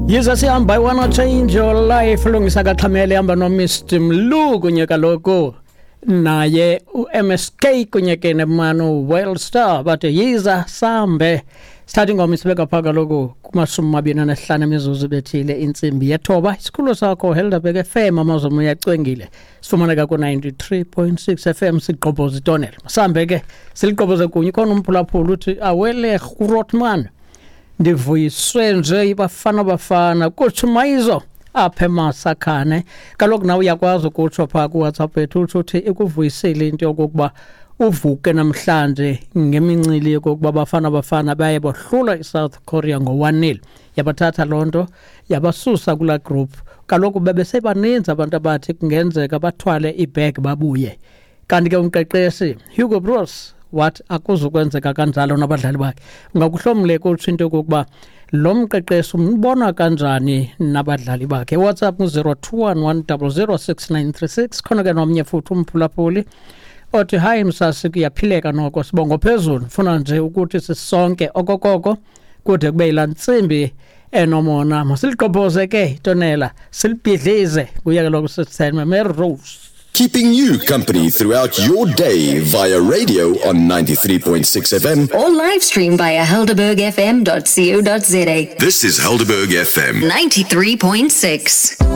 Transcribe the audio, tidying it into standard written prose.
Yiza sihamba, I wanna change your life. Lungisa kaxhamele hamba noMr Mlu kunye kaloku naye uMSK kunye ke nemanu Wellstar, bathi yiza sambe. Sithatha ingoma isibeka phaa kaloku kuma-25 emizuzu bethile intsimbi yethoba. Isikhululo sakho Helderberg FM, amazomo uyacwengile, sifumaneka ku-93.6 FM. Sigqobhoza itonel, masambe ke siligqobhoze kunye. Khona umphulaphula uthi awele Grootman, ndivuyiswe nje ibafana bafana kutsho mayizo apha emasakhane. Kaloku nawe uyakwazi ukutsho phaa kuWhatsApp yethu, utsho uthi ikuvuyisile into yokokuba uvuke namhlanje ngemincili yokokuba bafana bafana baye bohlula iSouth Korea ngo-1-0. Yabathatha loo nto yabasusa kulaa group. Kaloku bebesebaninzi abantu abathi kungenzeka bathwale ibheg babuye, kanti ke umqeqeshi Hugo Broos wathi akuzukwenzeka kanjalo nabadlali bakhe. Ungakuhlomle kutsho into yokokuba lo mqeqeshi umbona kanjani nabadlali bakhe. WhatsApp ngu-021 1006936. Khona ke nomnye futhi umphulaphuli othi hayi msasi, kuyaphileka noko, sibongo phezulu, funa nje ukuthi sisonke okokoko kude kube yilaa ntsimbi enomona. Masiligqobhoze ke itonela, silibhidlize. Kuye kaloku sisithenwe Melrose. Keeping you company throughout your day via radio on 93.6 FM. Or live stream via helderbergfm.co.za. This is Helderberg FM. 93.6.